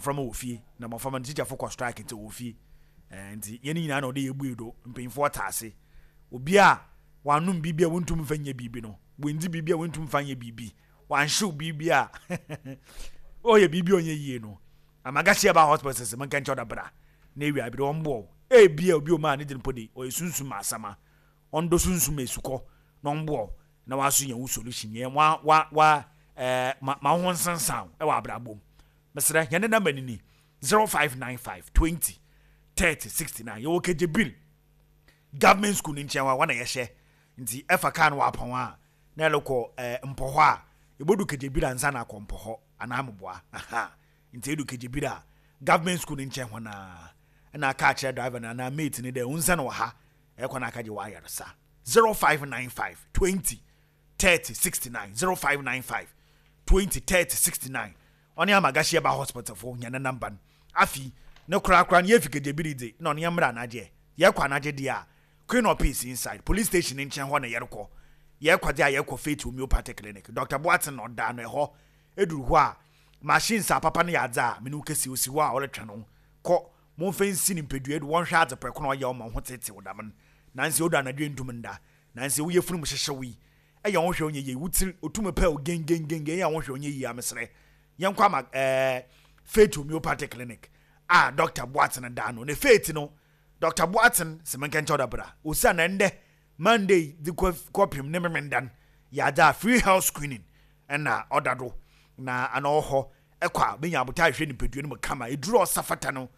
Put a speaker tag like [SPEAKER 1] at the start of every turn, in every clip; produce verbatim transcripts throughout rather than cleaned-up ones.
[SPEAKER 1] Mmɔframma wɔ fie na mmɔframma no tikyafo kɔ strike nti wɔ fie. ɛɛ nti yɛn nyinaa na ɔde yɛ bue do. Mpanyinfoɔ ta ase, obi a wanom biribi a wɔntum mfa nyɛ biribi no, wɔndi biribi a wɔntum mfa nyɛ biribi, wanhyew biribi a ɔyɛ biribi a ɔnyɛ yie no. Amagasi Herbal Hospital sɛ menka nkyɛw da bra na ewia bi de wɔn boɔ ebia obi omaa ne de mpo de ɔyɛ sunsum asama ɔndo sunsum esukɔ na ɔmboɔ na waso yɛn wo solution yɛn wa wa wa ɛɛ ma ma ho nsensan ɛwɔ abrabɔ mu. Mesrɛ, yɛn ne number ni ni zero five nine five twenty thirty sixty nine. Yɛwɔ Kegyebil Government School ne nkyɛn wa wɔn na yɛhyɛ, nti ɛfa kaa no wɔ apɔn a na ɛlekɔ ɛɛ mpɔ hɔ a ebodu Kegyebil ansa na akɔ mpɔ hɔ anaa moboa aha. Nti edu Kegyebil a, Government School ne nkyɛn hɔ naa ɛna aka akyerɛ driver no anaa mate ne dɛ nsa na wɔ ha ɛkɔ na aka gye wɔ ayaresa. zero five nine five twenty thirty sixty nine, zero five nine five twenty thirty sixty nine. Ɔne Amagasi Herbal Hospital fo nyɛ ne number no. Afi ne korakora no yɛfi Kegyebiri de na ɔne yɛmmra anagye yɛkɔ anagye deɛ a, Queen of Peace inside police station ne nkyɛn hɔ na yɛrekɔ. Yɛkɔ de a, yɛkɔ Faith Homeopathic Clinic. Doctor Boaten na ɔda no ɛhɔ. Eduru hɔ a, machines a papa no yɛ adze a mene wo kɛsi osi hɔ a ɔretwɛn no kɔ. Momfa nsi ne mpadua do, wɔnhwɛ adze prɛko na ɔyɛ ɔma ho tete wo dam no. Nansi odu anadwo ntum nda, nansi woyɛ funum hyehyɛ yi ɛyɛ ho hwɛ onyɛ yie, wotiri otum pɛ o gengengenge ɛyɛ ho hwɛ onyɛ yie. Amesrɛ, yɛnkɔ ama ɛɛ Faith Homeopathic Clinic a Doctor Boaten da no ne Faith no. Doctor Boaten sɛ menka nkyɛw da bra osi na ndɛ Monday de kɔ kɔpem ne memendan yɛ adze a free health screening ɛna ɔda do na ana ɔwɔ hɔ. Ɛkɔ a, bɛnya abota ahwɛ nipadua no mu kama, eduru a ɔsa fata no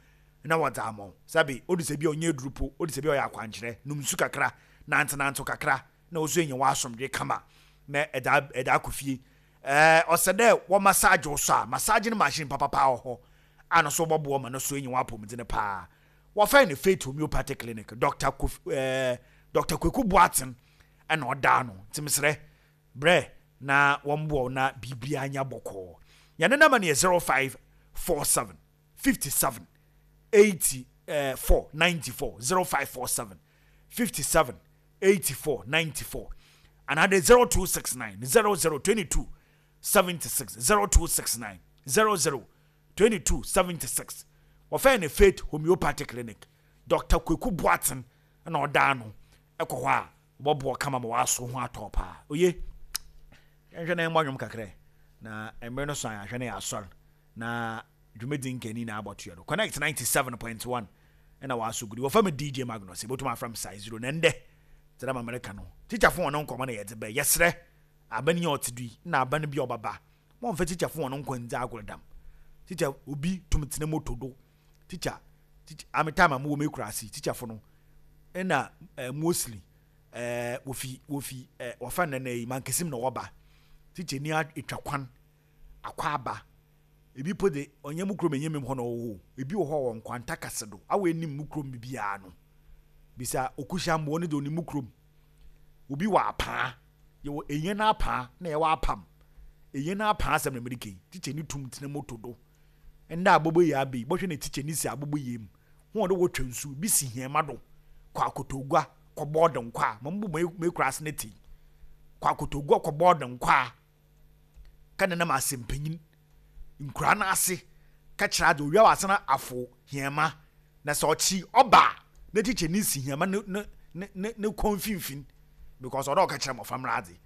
[SPEAKER 1] na wɔdze ama wo. Sabi odi sɛ bi a ɔnyɛ eduru po, odi sɛ bi a ɔyɛ akwankyerɛ, num nsu kakra, nantenantew kakra na oso enya w'asomdwe kama na ɛda ɛda akɔ fie. ɛɛ ɔsɛ dɛ wɔ massage wo so a, massage no machine papapa wɔ hɔ a no so wɔbɔboɔ ma no so enya w'apɔmuden paa. Wɔfɛn no Faith Homeopathic Clinic, Doctor Kof ɛɛ Doctor Kweku Boaten ɛna ɔdaa no. Nti mesrɛ, brɛ na wɔn boɔ na biribiara nya bɔkɔɔ. Yɛn number no yɛ zero five four seven fifty seven eighty four ninety four, zero five four seven fifty seven eighty four ninety four, another zero two six nine zero zero twenty two seventy six, zero two six nine zero zero twenty two seventy six. Wɔfɛn no Faith Homeopathic Clinic, Doctor Kweku Boaten ɛna ɔdaa no. Ɛkɔ hɔ a, wɔbɔboɔ kama ma wɔaso ho atɔ paa. Oye, yɛnhwɛ na yɛmmɔ nwom kakra na mmerɛ no so a yɛahwɛ no yɛ asɔre na dwumadi nkani na abɔtoɛ no. Connect ninety-seven point one ɛna wɔaso gudi. Wɔfa me D J Magnus, yɛbɛtumi afra m size zero. Na ndɛ kyerɛ ma Amerika no, tikyafo wɔn nkɔmɔ na yɛdze bɛ. Yɛsrɛ aban yi a ɔte do yi na aban bi a ɔbaba, wɔmfa tikyafo wɔn nkɔ ndzi agorɔ dam. Tikya obi tum tena moto do. Tikya tikya ame time a mowɔ me kura ase, tikyafo no ɛna ɛɛ mostly ɛɛ wofi wofi ɛɛ wɔfa nana yi mankesim na wɔba. Tikya ni atwa kwan akɔ aba, ebi po de ɔnyɛ mu kurom, ɛnyɛ mu hɔ na ɔwɔ hɔ. Ebi wɔ hɔ wɔ nkwanta kase do awɔ anim mu kurom biara no bisa okuhyia mboɔ no de onim mu kurom. Obi wɔ apaa, yɛwɔ enye n'apaa na yɛwɔ apam enye n'apaa asɛm na mɛde kɛn. Tikya ni tum tena moto do ndɛ abobo yi abe bɔhwɛ na tikya ni si abobo yi mu ho ɔde wɔtwa nsu bi si hɛma do kɔ akotogua kɔ bɔɔdo nkɔ a mo mbɔ mo ekura ase ne ti kɔ akotogua kɔ bɔɔdo nkɔ a ka nenam asɛmpanyin nkura n'ase ka kyerɛ adze owia wɔ asena afo hɛma na sɛ ɔkyi ɔba na tikya ni si hɛma ne ne ne ne ne kɔn mfimfin because ɔdɔ ɔka kyerɛ mmɔfra mmra adze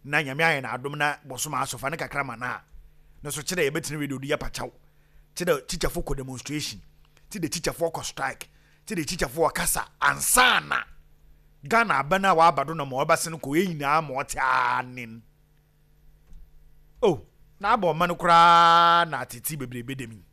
[SPEAKER 1] na Nyame ayɛ n'adom na bɔsom asɔfa ne kakra ma na ne so kyerɛ yɛbɛtena radio do yɛ pakyɛw kyerɛ tikyafo kɔ demonstration ti de tikyafo kɔ strike ti de tikyafo ɔkasa ansa na Ghana aba no a waba do na ma ɔbɛse no kɔ yɛn nyinaa ma ɔte anen o na abɔ ɔma no koraa na atete bebrebe dɛm yi.